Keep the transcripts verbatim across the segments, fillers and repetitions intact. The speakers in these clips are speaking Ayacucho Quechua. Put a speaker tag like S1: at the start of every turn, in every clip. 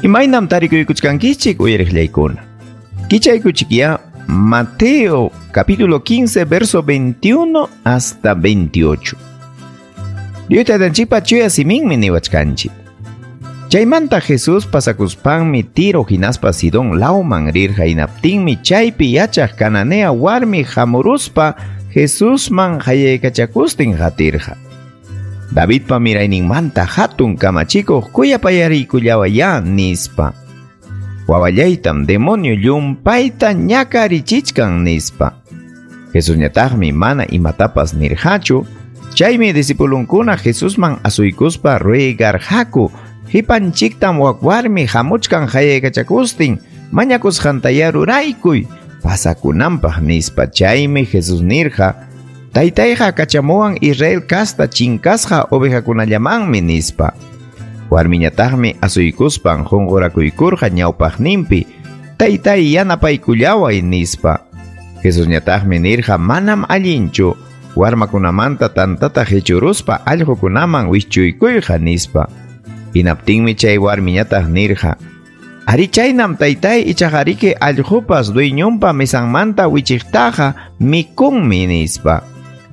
S1: Imaynam tarikuykuchkankichik uyariqllaykuna. Kichaykuchikya Mateo capítulo quince verso veintiuno hasta veintiocho. Dios taytanchikpa chuya siminmi niwachkanchik. Chaymanta Jesús pasakuspanmi Tiro hinaspa Sidón lawman rirqa hinaptinmi chaypi yachaq Cananea warmi hamuruspa Jesusman hayaykachakustin qatirqa. Davidpa mirayninmanta hatun kamachikuq kuyapayariykullawayá nispa. Wawallaytam demonio llumpayta ñakarichichkan nispa. Jesusñataqmi mana imatapas nirqachu. Chaymi discipulunkuna Jesusman asuykuspa ruegarqaku. Hipanchiktam wak warmi hamuchkan hayaykachakustin mañakusqantaya ruraykuy pasakunanpaq nispa. Chaymi Jesús nirqa, Taytayqa kachamuwan Israel kasta chinkasqa ovejakunallamanmi nispa. Warmiñataqmi asuykuspan qunqurakuykurqa ñawpaqninpi, Taytay yanapaykullaway nispa. Jesusñataqmi nirqa, manam allinchu warmakunamanta tantata hichuruspa allqukunaman wischuykuyqa nispa. Hinaptinmi chay warmiñataq nirqa, Ari chaynam taytay ichaqa allqupas dueñonpa mesanmanta wichiqtaqa mikunmi nispa.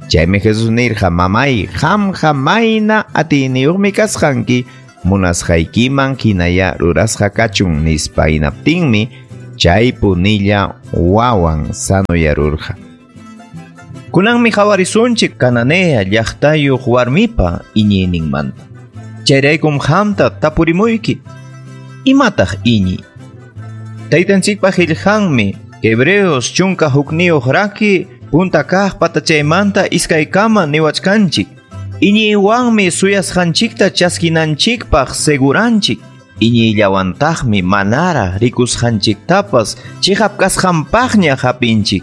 S1: Chaymi Jesús nirqa, mamay, qamqa mayna atiyniyuqmi kasqanki, munasqaykiman hinaya rurasqa kachun nispa. Hinaptinmi chay punilla wawan sanoyarurqa.
S2: Kunanmi qhawarisunchik Cananea llaqtayuq warmipa iñiyninmanta. Chayraykum qamta tapurimuyki. Imataq iñiy? Taytanchikpa qillqanmi Hebreos chunka hukniyuq raki punta kaq patachaymanta iskaykama niwachkanchik. Iñiywanmi suyasqanchikta chaskinanchikpaq seguranchik. Iñiyllawantaqmi manaraq rikusqanchiktapas chiqap kasqanpaqña hapinchik.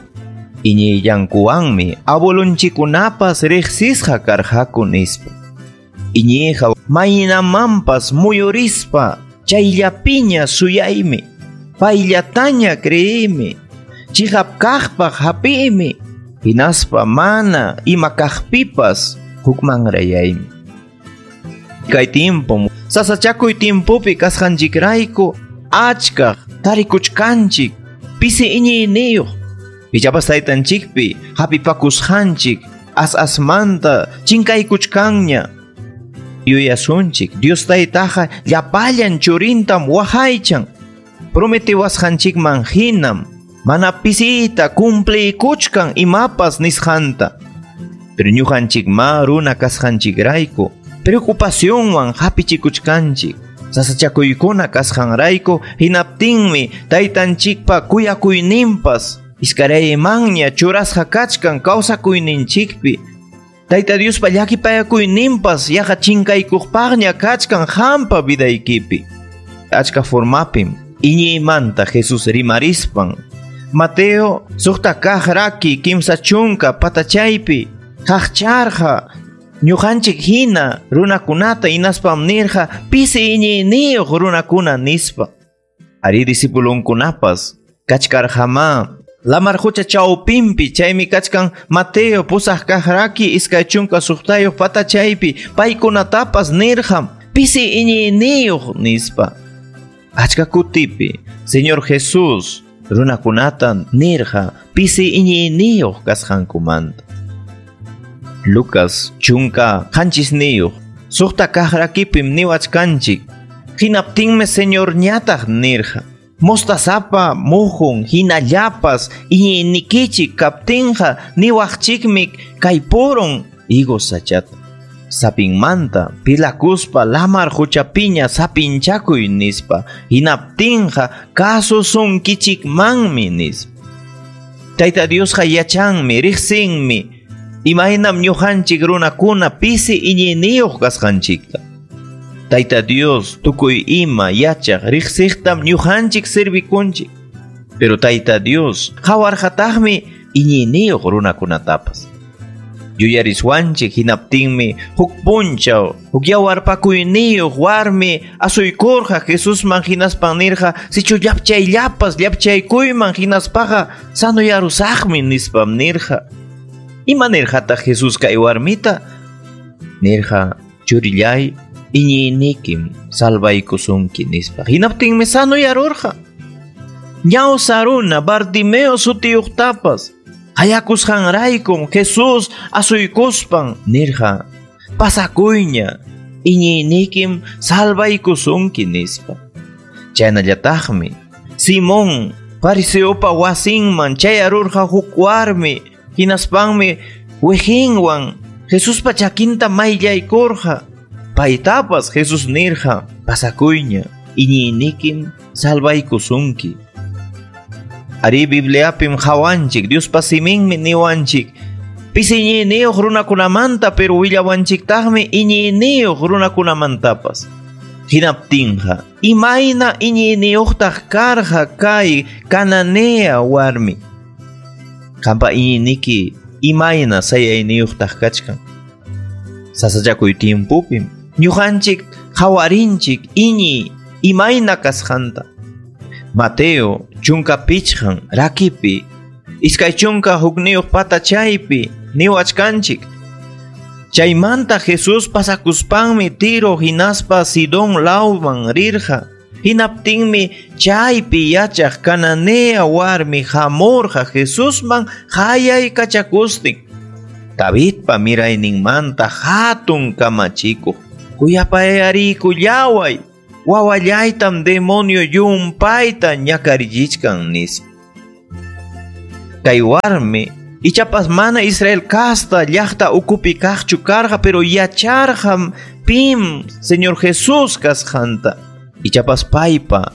S2: Iñiyllankuwanmi abuelunchikkunapas riqsisqa karqaku nispa. Iñiyqa maynamanpas muyurispa chayllapiña suyaymi, payllataña creeymi, chiqap kaqpaq hapiymi, hinaspa mana ima kaqpipas hukmanrayaymi. Kay tiempo sasachakuy tiempopi kasqanchikrayku achkaq tarikuchkanchik pisi iñiyniyuq. Ichapas taytanchikpi hapipakusqanchik as asmanta chinkaykuchkanña. Yuyasunchik Dios taytaqa llapallan churintam waqaychan. Prometiwasqanchikman hinam mana pisita cumpliykuchkan imapas nisqanta. Pero ñuqanchikma runa kasqanchikrayku preocupacionwan hapichikuchkanchik. Sasachakuykuna kasqanrayku hinaptinmi taytanchikpa kuyakuyninpas iskaraymanña churasqa kachkan kawsakuyninchikpi. Tayta Diospa llakipayakuyninpas yaqa chinkaykuqpaqña kachkan qampa vidaykipi. Achka formapim iñiymanta Jesús rimarispan Mateo suqta kaq raki kimsa chunka patachaypi qaqcharqa ñuqanchik hina runakunata hinaspam nirqa pisi iñiyniyuq runakuna nispa. Ari discipulunkunapas kachkarqamá lamar qucha chawpinpi chaymi kachkan Mateo pusaq kaq raki iskay chunka suqtayuq patachaypi paykunatapas nirqam pisi iñiyniyuq nispa. Achka kutipi Señor Jesús runakunata nirqa pisi iñiyniyuq kasqankumanta. Lucas chunka qanchisniyuq suqta kaq rakipim niwachkanchik. Hinaptinmi Señor ñataq nirqa, mostazapa muhun hinallapas iñiynikichik kaptinqa niwaqchikmi kay purun higos sachata. Sapinmanta pilakuspa lamar quchapiña sapinchakuy nispa. Hinaptinqa kasusunkichikmanmi nispa. Tayta Diosqa yachanmi riqsinmi imaynam ñuqanchik runakuna pisi iñiyniyuq kasqanchikta. Tayta Dios tukuy ima yachaq riqsiqtam ñuqanchik servikunchik. Pero Tayta Dios qawarqataqmi iñiyniyuq runakunatapas. Yuyariswanchik hinaptinmi huk punchaw huk yawarpakuyniyuq warmi asuykurqa Jesusman hinaspan nirqa sichu llapchayllapas llapchaykuyman hinaspaqa sanoyarusaqmi nispam nirqa. Ima nirqataq Jesús kay warmita? Nirqa, churillay, Iñiynikim salvaykusunki nispa. Hinaptinmi sanoyarurqa. Ñawsa runa Bartimeo sutiyuqtapas hayakusqanraykum Jesús asuykuspan nirqa, pasakuyña, iñiynikim salvaykusunki nispa. Chaynallataqmi Simón fariseopa wasinman chayarurqa huk warmi, hinaspanmi wejinwan Jesuspa chakinta mayllaykurqa. Paytapas Jesús nirqa, pasakuyña, iñiynikim salvaykusunki. Ari Bibliapim hawanchik, Diospa siminmi niwanchik, pisi iñiyniyuq runakunamanta, pero willawanchiktaqmi iñiyniyuq runakunamantapas. Hinaptinqa, imayna iñiyniyuqtaq karqa kay Cananea warmi. Qampa iñiyniki imayna sayayniyuqtaq kachkan. Sasachakuy tiempopim ñuqanchik hawarinchik iñiy imayna kasqanta. Mateo chunka pichqan rakipi, iskay chunka hukniyuq patachaypi niwachkanchik. Chaymanta Jesús pasakuspanmi Tiro hinaspa Sidón lawman rirqa. Hinaptinmi chaypi yachaq Cananea warmi hamurqa Jesusman hayaykachakustin. Davidpa mirayninmanta hatun kamachikuq, kuyapayariykullaway, wawallaytam demonio llumpayta ñakarichichkan nispa. Kay warmi ichapas mana Israel kasta llaqta ukupi kaqchu karqa, pero yacharqam pim Señor Jesús kasqanta. Ichapas paypa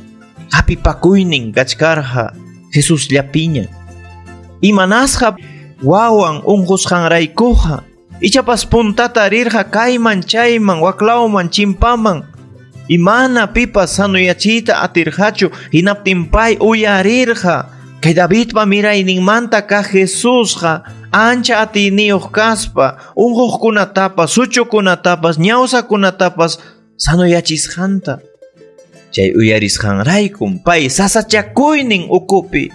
S2: hapipakuynin kachkarqa Jesús llapiña. Imanasqa wawan unqusqanraykuqa ichapas puntata rirqa kayman chayman waklawman chimpaman. Imana pipas sanoyachiyta atirqachu, hinaptin pay uyarirqa kay Davidpa mirayninmanta kaq Jesusqa ancha atiyniyuq kaspa unquqkunatapas, suchukunatapas, ñawsakunatapas sanoyachisqanta. Chay uyarisqanraykum pay sasachakuynin ukupi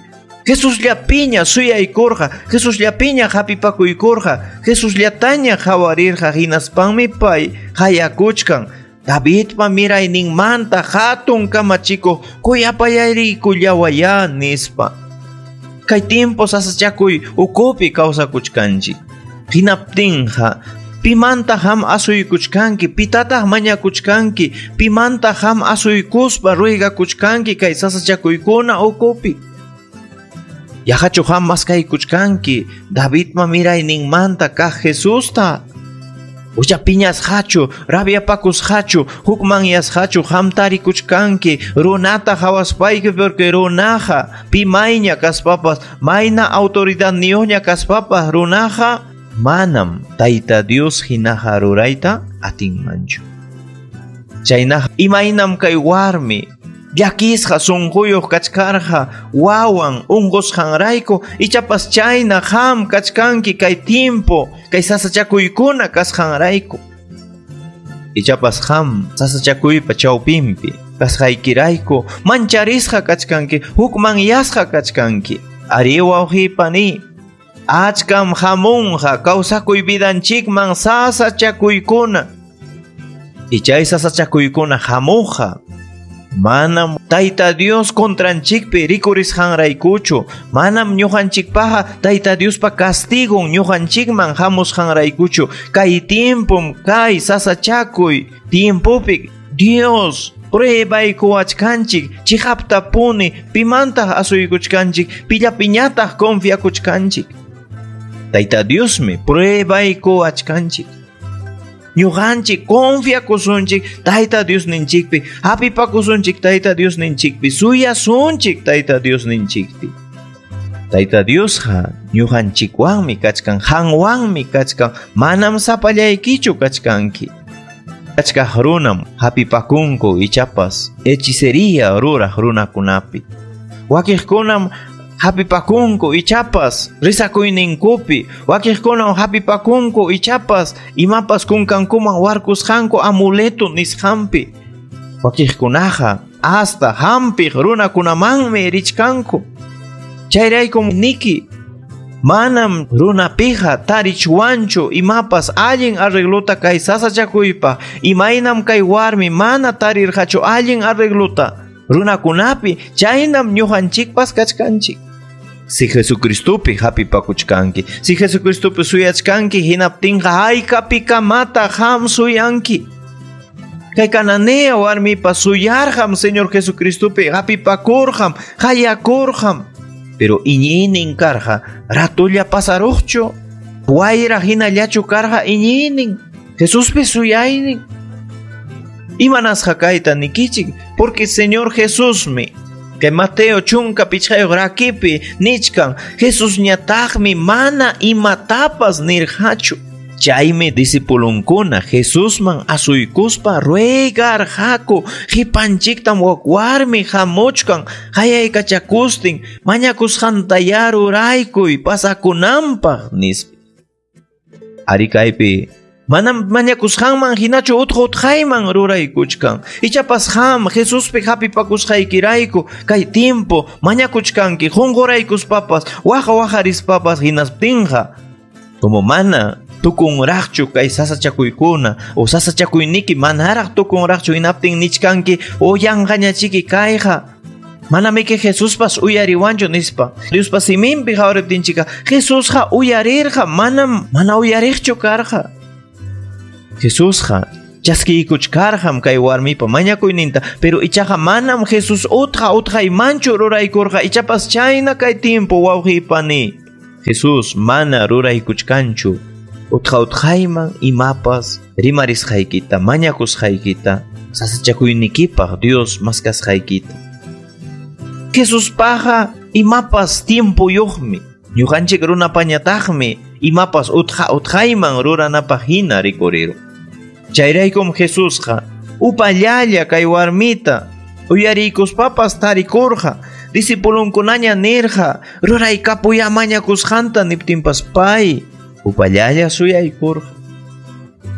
S2: Jesusllapiña suyaykurqa, Jesusllapiña hapipakuykurqa, Jesusllataña hawarirqa. Hinaspanmi pay hayakuchkan Davidpa mirayninmanta hatun kamachikuq kuyapayariykullawaya nispa. Kay tiempo sasachakuy ukupi kawsakuchkanchik. Hinaptinqa pimanta ham asuykuchkanki, pitataq mañakuchkanki, pimanta ham asuykuspa ruigakuchkanki kay sasachakuykuna ukupi. Yaqachu ham maskaykuchkanki Davidpa mirayninmanta kaq Jesusta. Ucha piñasqachu, rabiapakusqachu, hukmanyasqachu ham tarikuchkanki runata hawaspayki, porque runaqa pimayña kaspapas, mayna autoridadniyuqña kaspapas runaqa manam Tayta Dios hinaqa rurayta atinmanchu. Chaynaqa imaynam kay warmi llakisqa sunquyuq kachkarqa wawan unqusqanrayku, ichapas chayna ham kachkanki kay tiempo kay sasachakuykuna kasqanrayku. Ichapas ham sasachakuypa chawpinpi kasqaykirayku mancharisqa kachkanki, hukmanyasqa kachkanki. Ari wawqipani, achkam hamunqa kawsakuy vidanchikman sasachakuykuna. Ichay sasachakuykuna hamuqa manam Tayta Dios contranchikpi rikurisqanraykuchu, manam ñuqanchikpaqa Tayta Diospa castigon ñuqanchikman hamusqanraykuchu. Kay tiempom kay sasachakuy tiempopi Dios pruebaykuwachkanchik chiqaptapuni pimantaq asuykuchkanchik, pillapiñataq confiakuchkanchik. Tayta Diosmi pruebaykuwachkanchik. Ñuqanchik confiakusunchik Tayta Diosninchikpi, hapipakusunchik Tayta Diosninchikpi, suyasunchik Tayta Diosninchikpi. Tayta Diosqa ñuqanchikwanmi kachkan, qanwanmi kachkan, manam sapallaykichu kachkanki. Achkaq runam hapipakunku ichapas hechicería ruraq runakunapi. Wakiqkunam hapipakunku ichapas rizakuyninkupi, wakiqkunam hapipakunku ichapas imapas kunkankuman warkusqanku amuleto nisqanpi. Wakiqkunaqa hasta hampiq runakunamanmi richkanku. Chayraykum niki, Manam runapiqa tarichwanchu imapas allin arreglota kay sasachakuypaq. Imaynam kay warmi mana tarirqachu allin arreglota runakunapi, chaynam ñuqanchikpas kachkanchik. Si Jesucristopi hapipakuchkanki, si Jesucristopi suyachkanki, hinaptinqa haykapikamata qam suyanki. Kay Cananea warmipas suyarqam Señor Jesucristopi hapipakurqam, hayakurqam. Pero iñiynin karqa ratulla pasaruqchu, wayra hinallachu karqa iñiynin, Jesuspi suyaynin. Imanasqa kayta nikichik, porque Señor Jesusmi que Mateo chunka pichqayuq rakipi nichkan, Jesusñataqmi mana imatapas nirqachu. Chaymi discipulunkuna Jesusman asuykuspa ruegarqaku, qipanchiktam wak warmi hamuchkan hayaykachakustin mañakusqantaya ruraykuy pasakunanpaq nispa. Ari kaypi manam mañakusqanman hinachu utqa utqayman ruraykuchkan. Ichapas qam Jesuspi hapipakusqaykirayku kay tiempo mañakuchkanki qunquraykuspapas waqa waqarispapas hinasptinqa como mana tukunraqchu kay sasachakuykuna o sasachakuyniki manaraq tukunraqchu hinaptin nichkanki o yanqañachiki kayqa manamiki Jesuspas uyariwanchu nispa. Diospa siminpi qhawariptinchika Jesusqa uyarirqa, manam mana uyariqchu karqa. Jesusqa chaskiykuchkarqam kay warmipa mañakuyninta, pero ichaqa manam Jesús utqa utqaymanchu ruraykurqa. Ichapas chayna kay tiempo wawqipani Jesús mana ruraykuchkanchu utqa utqayman imapas rimarisqaykita, mañakusqaykita, sasachakuynikipaq Dios maskasqaykita. Jesuspaqqa imapas tiempuyuqmi, ñuqanchik runapañataqmi imapas utqa utqayman ruranapaq hina rikuriru. Chayraykum Jesusqa upallalla kay warmita uyariykuspapas tarikurqa, discipulunkunaña nirqa ruraykapuya mañakusqanta niptinpas pay upallalla suyaykurqa.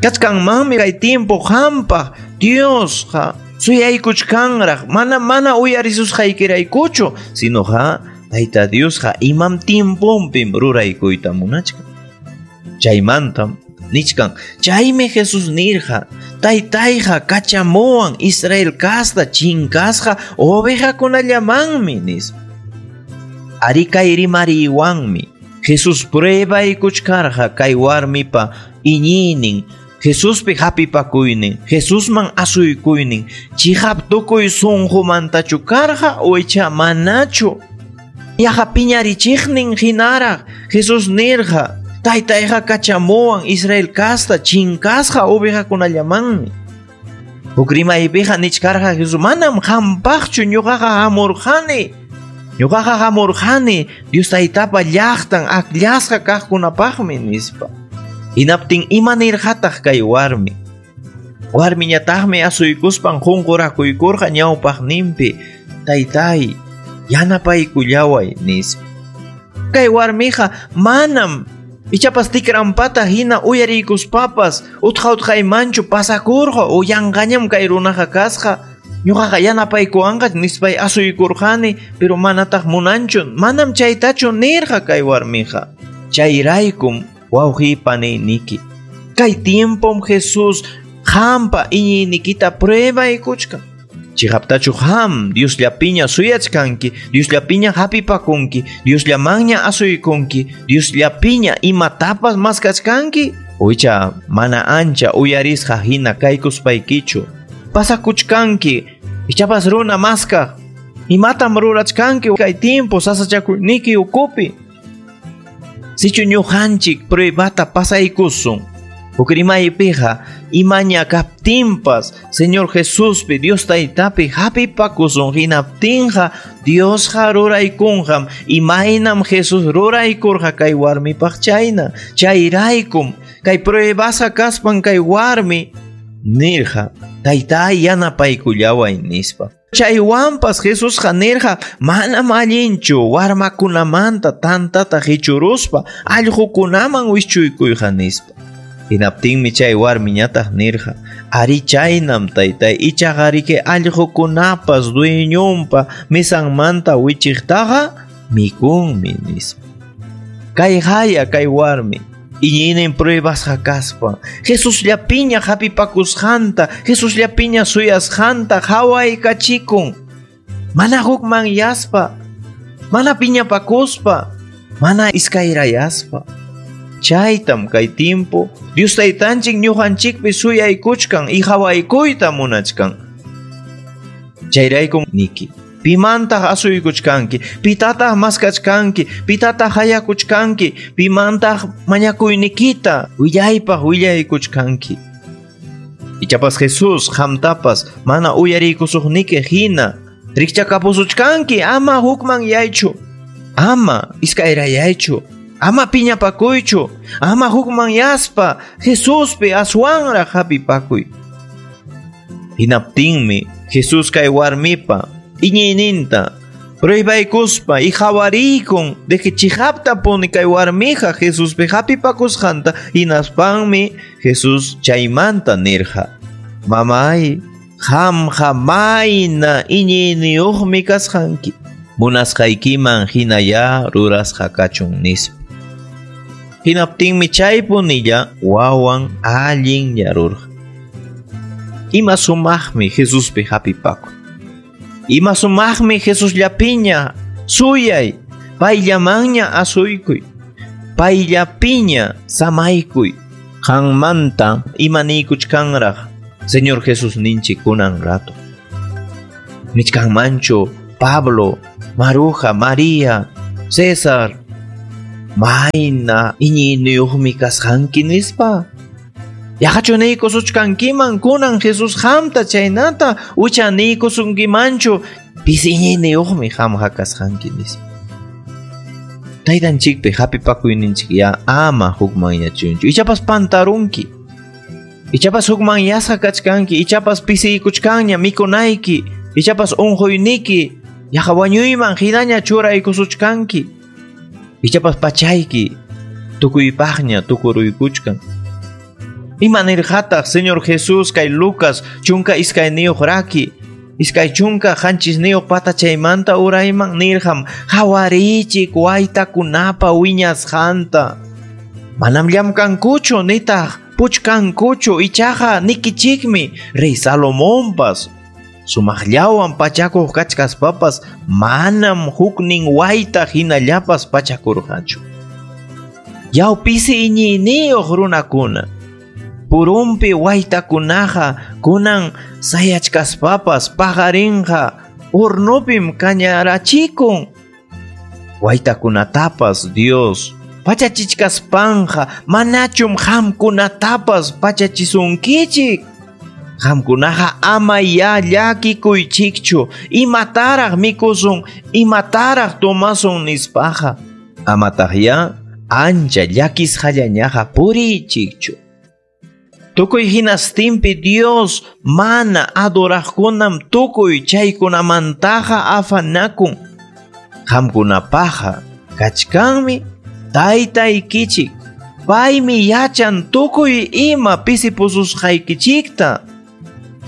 S2: Kachkanmanmi kay tiempo qampaq Diosqa suyaykuchkanraq, mana mana uyarisusqaykiraykuchu, sinoqa Tayta Diosqa imam tiemponpim ruraykuyta munachkan. Chaymantam nichkan, chaymi Jesús nirqa, Taytayqa kachamuwan Israel kasta chinkasqa ovejakunallamanmi nispa. Ari kay rimariwanmi Jesús pruebaykuchkarqa kay warmipa iñiynin, Jesuspi hapipakuynin, Jesusman asuykuynin, chihap tukuy sunqumantachu karqa o icha manachu. Yaqa piñarichiqnin hinaraq Jesús nirqa, Taytayqa kachamuwan Israel kasta chinkasqa ovejakunallamanmi. Huk rimaypiqa nichkarqa Jesús, manam qampaqchu ñuqaqa hamurqani. Ñuqaqa hamurqani Dios Taytapa llaqtan akllasqa kaqkunapaqmi nispa. Hinaptin ima nirqataq kay warmi. Warmiñataqmi asuykuspan qunqurakuykurqa ñawpaqninpi, Taytay, yanapaykullaway nispa. Kay warmiqa manam ichapas tikrampata hina uyariykuspapas utqa utqaymanchu pasakurqa o yanqañam kay runaqa kasqa, ñuqaqa yanapaykuwanqa nispay asuykurqani, pero manataq munanchu, manam chaytachu nirqa kay warmiqa. Chayraykum wawqipaniniki, kay tiempom Jesús qampa iñiynikita pruebaykuchkan. Chihaptachu qam Diosllapiña suyachkanki, Diosllapiña hapipakunki, Diosllamanña asuykunki, Diosllapiña imatapas maskachkanki, o icha mana ancha uyarisqa hina kaykuspaykichu pasakuchkanki, ichapas runa maskaq, imatam rurachkanki kay tiempo sasachakuyniki ukupi. Sichu ñuqanchik pruebata pasaykusun, huk rimaypiqa imaña kaptinpas Señor Jesuspi Dios Taytapi hapipakusun hinaptinqa Diosqa ruraykunqam imaynam Jesús ruraykurqa kay warmipaq chayna. Chayraykum kay pruebasa kaspan kay warmi nirqa, Taytay yanapaykullaway nispa. Chaywanpas Jesusqa nirqa, manam allinchu warmakunamanta tantata qichuruspa allqukunaman wischuykuyqa nispa. Hinaptinmi chay warmiñataq nirqa, ari chaynam taytay, ichaqa riki allqukunapas dueñonpa mesanmanta wichiqtaqa mikunmi nispa. Kay haya kay warmi iñiynin pruebasqa kaspa Jesusllapiña hapipakusqanta, Jesusllapiña suyasqanta hawaykachikun. Mana hukmanyaspa, mana piñapakuspa, mana iskayrayaspa. Chaytam kay timpu Dios taytanchik ñuqanchikpi suyaykuchkan y hawaykuyta munachkan. Chayraykum niki, pimantaq asuykuchkanki, pitataq maskachkanki, pitataq hayakuchkanki, pimantaq mañakuynikita willaypaq willaykuchkanki. Ichapas Jesús qamtapas mana uyariykusuqniki hina rikchakapusuchkanki, ama hukmanyaychu, ama iskayrayaychu, ama piñapakuychu, ama hukmanyaspa Jesuspi aswanraq hapipakuy. Hinaptinmi Jesús kay warmipa iñiyninta pruebaykuspa y hawarikun de que chihaptapuni kay warmija Jesuspi hapipakusqanta. Hinaspanmi Jesús chaymanta nirqa: Mamay, qamqa mayna iñiyniyuqmi kasqanki, munasqaykiman hinaya rurasqa kachun nispa. Hinaptinmi chaypunilla wawan allinyarurqa. Ima sumaqmi Jesuspi hapipakuy. Ima sumaqmi Jesusllapiña suyay, payllamanña asuykuy, payllapiña samaykuy. Qanmanta imaniykuchkanraq Señor Jesús ninchik kunan rato. Nichkanmanchu Pablo, Maruja, María, César, mayna iñiyniyuqmi kasqanki nispa. Yaqachu niykusuchkankiman kunan Jesús qamta chaynata ucha niykusunkimanchu pisi iñiyniyuqmi qamqa kasqanki nispa. Taytanchikpi hapipakuyninchik ya ama hukmanyachunchu. Ichapas pantarunki, ichapas hukmanyasqa kachkanki, ichapas pisiykuchkanña mikunayki, ichapas unquyniki yaqa wañuyman hinaña churaykusuchkanki, ichapas pachayki tukuypaqña tukuruykuchkan. Ima nirqataq Señor Jesús kay Lucas chunka iskayniyuq raki iskay chunka qanchisniyuq patachaymanta urayman nirqam: hawariychik waytakunapa wiñasqanta. Manam llamkankuchu nitaq puchkankuchu, ichaqa nikichikmi Rey Salomonpas sumaqllawan pachakuq kachkaspapas manam huknin wayta hinallapas pachakurqachu. Yaw pisi iñiyniyuq runakuna, purumpi waytakunaqa kunan sayachkaspapas paqarinqa hornopim kañarachikun. Waytakunatapas Dios pachachichkaspanqa manachum qamkunatapas pachachisunkichik. Qamkunaqa ama ya llakikuychikchu, imataraq mikusun, imataraq tomasun nispaqa. Amataq ya ancha llakisqallañaqa puriychikchu. Tukuy hinastinpi Dios mana adoraqkunam tukuy chaykunamantaqa afanakun. Qamkunapaqa kachkanmi taytaykichik, paymi yachan tukuy ima pisipususqaykichikta.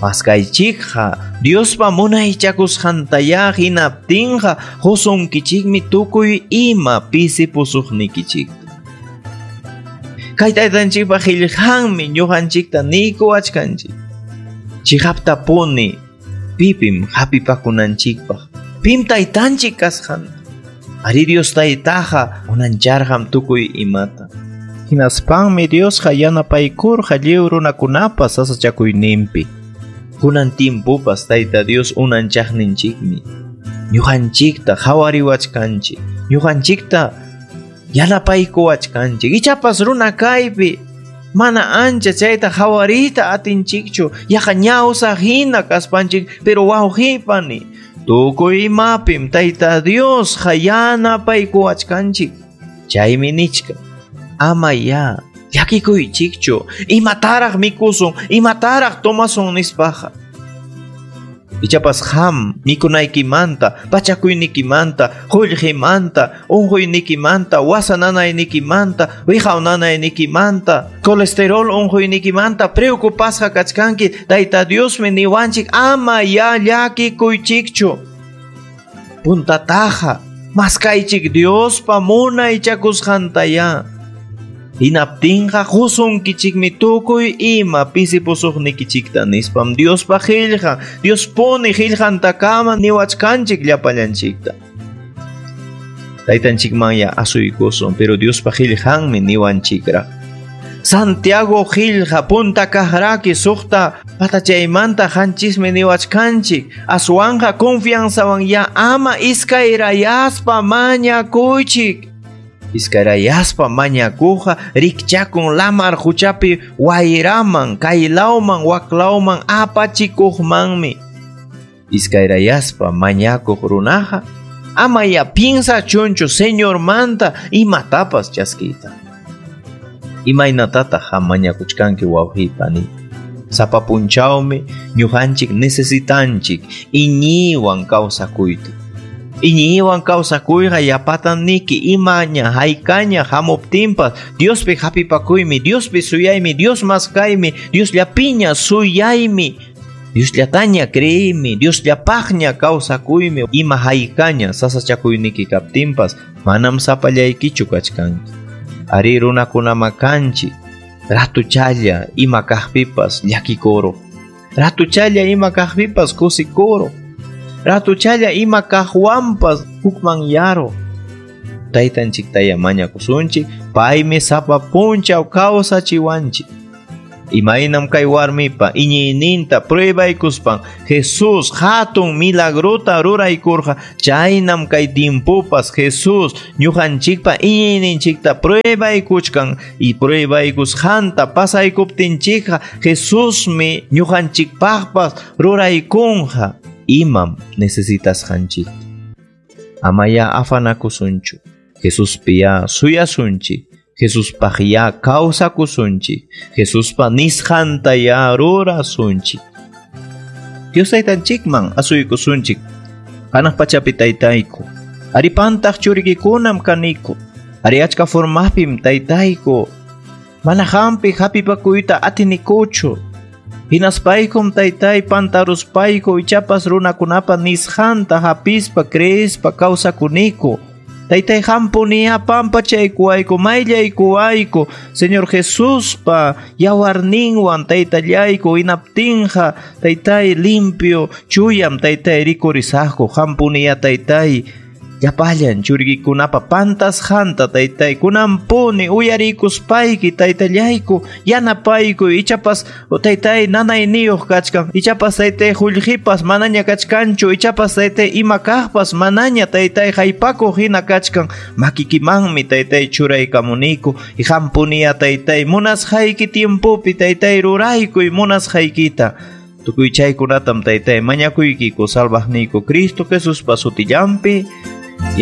S2: Maskaychikqa Diospa munaychakusqantaya hinaptinqa qusunkichikmi tukuy ima pisipusuqnikichikta. Kay taytanchikpa qillqanmi ñuqanchikta niykuwachkanchik. Chiqaptapuni pipim hapipakunanchikpaq, pim taytanchik kasqanta. Ari Dios taytaqa unancharqam tukuy imata. Hinaspanmi Diosqa yanapaykurqa lliw runakunapas sasachakuyninpi. Kunan timpupas Tayta Dios unanchaqninchikmi. Ñuqanchikta qhawariwachkanchik, ñuqanchikta yanapaykuwachkanchik. Ichapas runa kaypi mana ancha chayta qhawariyta atinchikchu, yaqa ñawsa hina kaspanchik, pero wawqipani tukuy imapim Tayta Dios yanapaykuwachkanchik. Chaymi nichka, ama ya llakikuychikchu, imataraq mikusun, imataraq tomasun nispaqa. Ichapas qam mikunaykimanta, pachakuynikimanta, qullqimanta, unquynikimanta, wasa nanaynikimanta, wiqaw nanaynikimanta, colesterol unquynikimanta preocupasqa kachkanki. Tayta Diosmi niwanchik ama ya llakikuychikchu. Puntataqa Maskaychik Diospa munaychakusqantaya. Hinaptinqa qusunkichikmi tukuy ima pisipusuqnikichikta nispam Diospa qillqan, Diospuni qillqantakama niwachkanchik llapallanchikta. Taytanchikmanya asuykusun, pero Diospa qillqanmi niwanchikraq. Santiago qillqa punta kaqraki suqta patachaymanta qanchismi niwachkanchik. Aswanqa confianzawan ya ama iskayrayaspa mañakuychik. Iskayrayaspa mañakuqa rikchakun lamar quchapi wayraman, kaylawman, waklawman apachikuqmanmi. Iskayrayaspa mañakuq runaqa ama ya piensachunchu Señormanta imatapas chaskiyta. Imaynatataq mañakuchkanki wawqiy pani? Sapa punchawmi ñuqanchik necesitanchik iñiywan kawsakuyta. Iñiywan kawsakuyqa yapatan niki imaña haykaña hamuptinpas Diospi hapipakuymi, Diospi suyaymi, Dios maskaymi, Diosllapiña suyaymi, Diosllataña creeymi, Diosllapaqña kawsakuymi. Ima haykaña sasachakuyniki kaptinpas manam sapallaykichu kachkanki. Ari runakunama kanchik, ratuchalla ima kaqpipas llakikuru, ratuchalla ima kaqpipas kusikuru, ratuchalla ima kaqwanpas hukmanyaru. Taytanchiktaya mañakusunchik, paymi sapa punchaw kawsachiwanchik. Imaynam kay warmipa iñiyninta pruebaykuspan Jesús hatun milagrota ruraykurqa, chaynam kay timpupas Jesús ñuqanchikpa iñiyninchikta pruebaykuchkan y pruebaykusqanta pasaykuptinchikqa Jesusmi ñuqanchikpaqpas ruraykunqa imam necesitasqanchikta. Amaya afanakusunchu, Jesuspi ya suyasunchik, Jesuspaq ya kawsakusunchik, Jesuspa nisqanta ya rurasunchik. Dios taytanchikman asuykusunchik, hanaq pachapi taytayku, aripantaq churikikunam kaniku, ari achka formapim taytayku, mana hampi hapipakuyta atinikuchu. Hinaspaykum taytay pantaruspayku ichapas runakunapa nisqanta hapispa creespa kawsakuniku. Taytay hampuniya pampachaykuwayku, mayllaykuwayku, Señor Jesuspa yawarninwan taytallayku hinaptinqa taytay limpio chuyam taytay rikurisaqku. Hampuniya taytay llapallan churikikunapa pantasqanta taytay kunanpuni uyarikuspayki taytallayku yanapayku. Ichapas taytay nanayniyuq kachkan, ichapas taytay qullqipas manaña kachkanchu, ichapas taytay ima kaqpas manaña taytay haypakuq hina kachkan. Makikimanmi taytay churaykamuniku y hampuniya taytay munasqayki tiempopi taytay ruraykuy munasqaykita. Tukuy chaykunatam taytay mañakuykiku salvaqniyku Cristo Jesuspa sutillanpi.